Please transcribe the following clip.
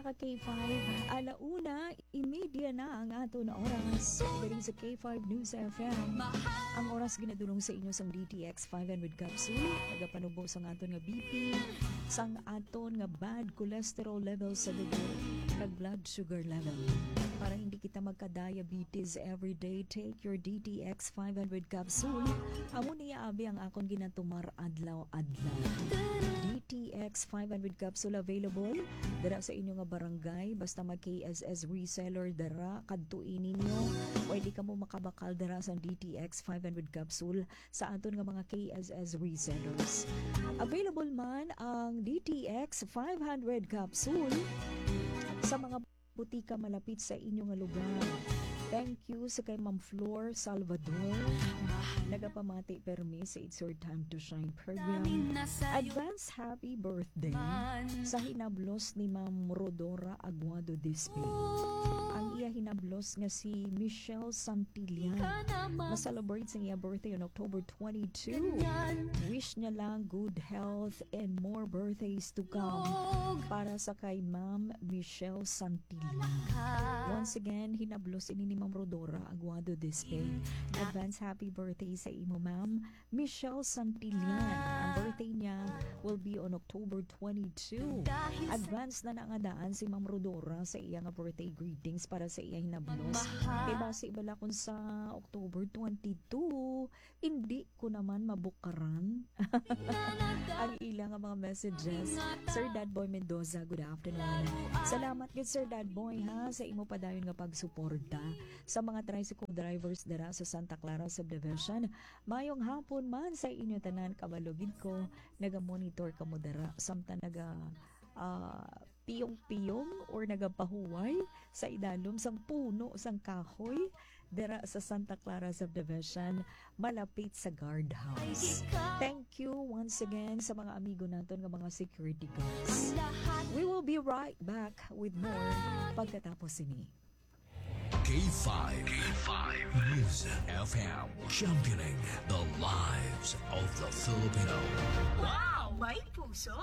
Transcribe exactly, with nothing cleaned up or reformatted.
Ka K five, ala una, imedya na ang aton oras. Diri sa K five News F M. Ang oras ginadulong sa inyo sang D T X five hundred capsule. Nagapanubo sang aton nga B P, sang aton nga bad cholesterol level sa dugo, kag blood sugar level. Para hindi kita magka-diabetes everyday, take your D T X five hundred capsule. Amo niya abi ang akon ginatumar adlaw-adlaw. D T X five hundred capsule available dira sa inyo nga barangay. Basta mag K S S reseller dira, kadtoi ninyo. Pwede kamo makabakal dira sa D T X five hundred capsule sa aton nga mga K S S resellers. Available man ang D T X five hundred capsule sa mga butika malapit sa inyo nga lugar. Thank you sa kay Ma'am Flor Salvador. Nagapamati permi sa It's Your Time to Shine program. Advance happy birthday sa hinablos ni Ma'am Rodora Aguado Dispe. Ang iya hinablos nga si Michelle Santillan, ma-celebrate sa iya birthday on October twenty-two. Wish niya lang good health and more birthdays to come para sa kay Ma'am Michelle Santillan. Once again, hinablos ini ni Ma'am Rodora Aguado Dispe. Advance happy birthday sa imo, Ma'am Michelle Santillan. Ang birthday niya will be on October twenty-two. Advance na nangadaan si Ma'am Rodora sa iya nga birthday greetings para sa iya hinablos. Kay basi bala kung sa October twenty-two, hindi ko naman mabukaran ang ila nga mga messages. Sir Dad Boy Mendoza, good afternoon. Salamat gid, Sir Dad Boy, ha, sa imo padayon nga pagsuporta sa mga tricycle drivers dira sa Santa Clara Subdivision. Mayong hapon man sa inyo tanan, kabalo gid ko naga-monitor kamo dira, samtang naga, ah, piyong-piyong or nagapahuway sa idalom sang puno sang kahoy dira sa Santa Clara Subdivision, malapit sa guardhouse. Thank you once again sa mga amigo naton nga mga security guards. We will be right back with more pagkatapos sini. K five, K five News F M, championing the lives of the Filipino. Wow! May puso!